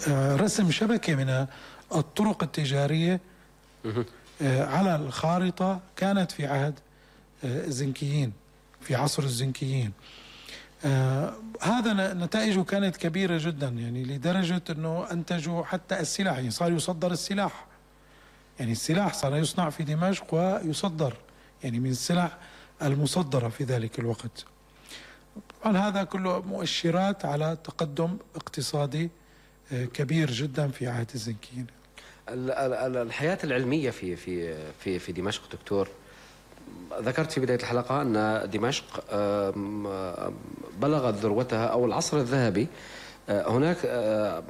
رسم شبكة من الطرق التجارية على الخارطة كانت في عهد الزنكيين، في عصر الزنكيين. هذا نتائجه كانت كبيرة جدا، يعني لدرجة أنه أنتجوا حتى السلاح، يعني صار يصدر السلاح، يعني السلاح صار يصنع في دمشق ويصدر، يعني من السلع المصدرة في ذلك الوقت. طبعا هذا كله مؤشرات على تقدم اقتصادي كبير جدا في عهد الزنكيين. الحياة العلمية في دمشق دكتور، ذكرت في بداية الحلقة أن دمشق بلغت ذروتها أو العصر الذهبي. هناك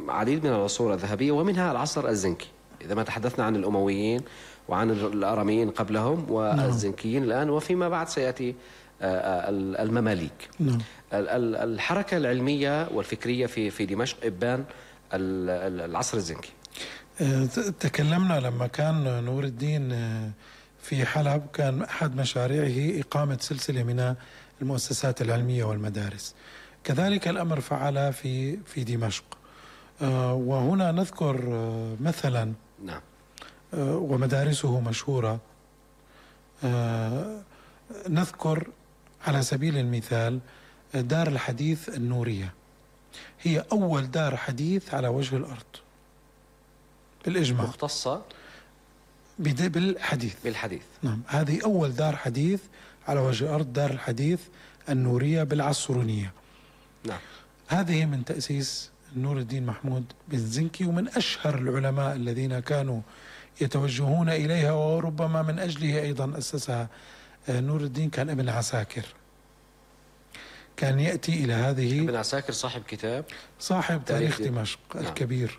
عديد من العصور الذهبية ومنها العصر الزنكي، إذا ما تحدثنا عن الأمويين وعن الأراميين قبلهم والزنكيين الآن، وفيما بعد سيأتي المماليك. الحركة العلمية والفكرية في دمشق إبان العصر الزنكي. تكلمنا لما كان نور الدين في حلب، كان أحد مشاريعه إقامة سلسلة من المؤسسات العلمية والمدارس. كذلك الأمر فعل في دمشق. وهنا نذكر مثلا نعم، ومدارسه مشهورة. نذكر على سبيل المثال دار الحديث النورية، هي أول دار حديث على وجه الأرض بالإجماع، مختصة بالحديث. نعم، هذه أول دار حديث على وجه الأرض، دار الحديث النورية بالعصرونية. نعم، هذه من تأسيس نور الدين محمود بن زنكي، ومن أشهر العلماء الذين كانوا يتوجهون إليها، وربما من أجله أيضا أسسها نور الدين كان ابن عساكر. كان يأتي إلى هذه ابن عساكر صاحب تاريخ دمشق الكبير.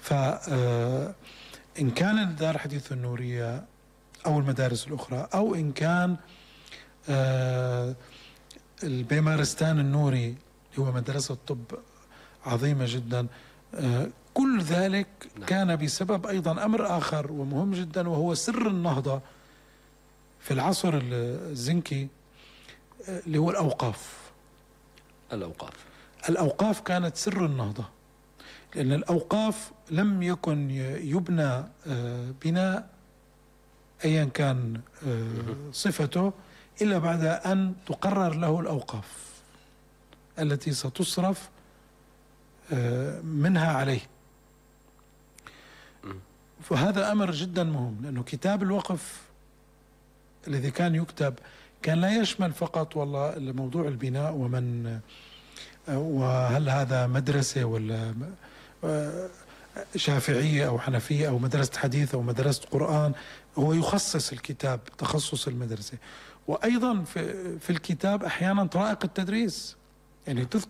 فإن كان دار حديث النورية أو المدارس الأخرى، أو إن كان البيمارستان النوري هو مدرسة طب عظيمة جدا، كل ذلك كان بسبب أيضا أمر آخر ومهم جدا، وهو سر النهضة في العصر الزنكي، اللي هو الأوقاف كانت سر النهضة، لأن الأوقاف لم يكن يبنى بناء أيا كان صفته إلا بعد أن تقرر له الأوقاف التي ستصرف منها عليه. فهذا أمر جدا مهم، لأنه كتاب الوقف الذي كان يكتب كان لا يشمل فقط والله موضوع البناء وهل هذا مدرسة ولا شافعية أو حنفية أو مدرسة حديث أو مدرسة قرآن. هو يخصص الكتاب تخصص المدرسة، وأيضا في الكتاب أحيانا طرائق التدريس، يعني تذكر